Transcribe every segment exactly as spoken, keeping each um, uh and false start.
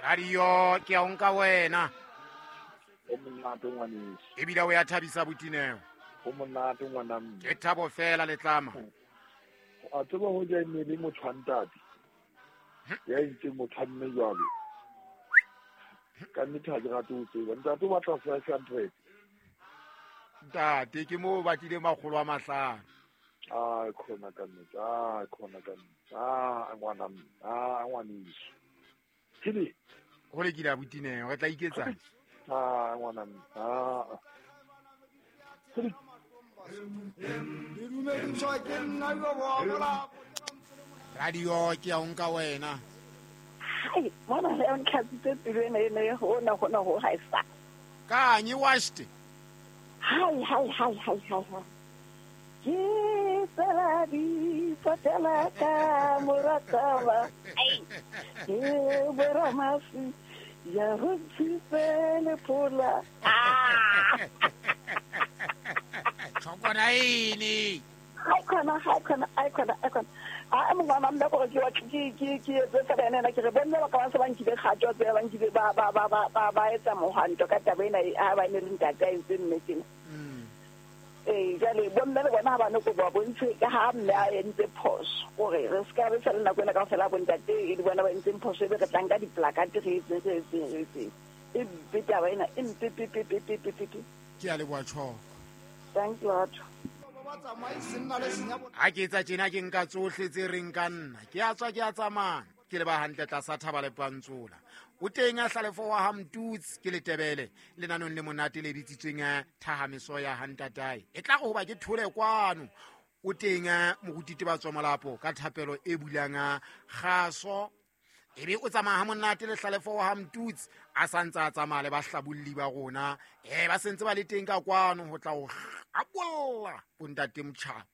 Radio ke a o nka wena. O monate ngwaneso. Ebile o ya thabisa botineo. O monate ngwana mme. Ke thabo fela letlama. A tseba ho ja ene le motho wa ntate. Ya entseng motho wa mme jwalo. Ka nnete ha ke rate ho tseba. Ntate o batla five hundred. Ntate ke mo batlile makgolo a mahlano. Ah, khona ka nnete. Ah, khona ka nnete. Ah, ngwana mme. Ah, ngwaneso. Kile. Ho le kile abutineo, re tla iketsang. Ah, ngwana mme. Ah. Kile. Radio ke ya o nka wena. Hai, mona le o ntlhatsitse pelo ena ena hona hona ho ha e sa. Kanye washed. Hai hai hai hai hai. Ke tsela di patela ka morataba. Ai. Ke boramasi ya ho tsipele pula. Ah. Chokona ini. Hai khona hai khona hai khona hai khona. A mongwana mme gore ke wa ke ke ke etse fela ena ke re bomme ba ka ba se ba nkile kgato tse ba nkile ba ba ba ba ba etsa mohwanto ka taba ena ha ba ne le ntate a entse mme tena. Eh jwale bomme le bona ha ba ne go ba bontshe ka ha mme a entse phoso gore re ska re sala nako ena ka fela bontate e di bona ba entseng phoso e be re tlang ka diplakate re etse re etse re etse e mpe taba ena e mpe pe pe pe pe pe pe. Ke a leboha tjho. Thank you lot. Ha ke etsa tjena ke nka tsohle tse reng ka nna. Ke a tswa ke a tsamaya. Ke leba hantle tlasa thaba le pantsola. O teng a hlalefo wa ha Mtutsi ke letebele lenanong le monate le bitsitsweng thahameso ya ha ntatae. E tla go hoba ke thole kwano. O teng moruti ba tswa molapo ka thapelo e bulang kgaso. Ebe o tsamaya ha monate le hlalefo wa ha Mtutsi a santsa a tsamaya le bahlabulli ba rona. Eh ba sentse ba le teng ka kwano ho tla ho apolla bontate motjha.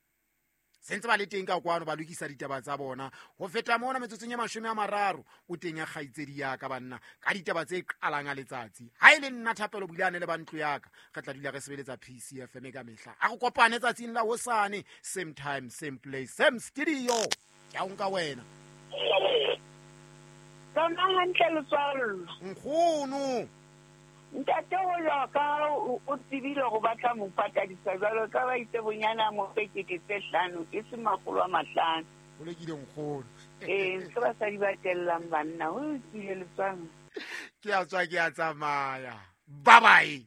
Sentse ba le teng ka kwano ba lokisa ditaba tsa bona. Ho feta mona metsotsong ya mashome a mararo o teng ya kgaitsedi ya ka banna ka ditaba tse qalang a letsatsi. Ha e le nna Thapelo Bulane le ba ntlo ya ka re tla dula re sebeletsa P C F M ka mehla. A re kopane tsatsing la hosane, same time, same place, same studio. Ke a o nka wena. Tsona hantle letswalo. Nkgono. Ntate o ya ka o tsebile go batla mo patadisa jwalo ka ba itse bonyana mo pekete tse hlano e se makgolo a mahlano. O lekile nkgono. Eh se basadi ba tellang banna o tsile letswalo. Ke a tswa ke a tsamaya. Bye bye.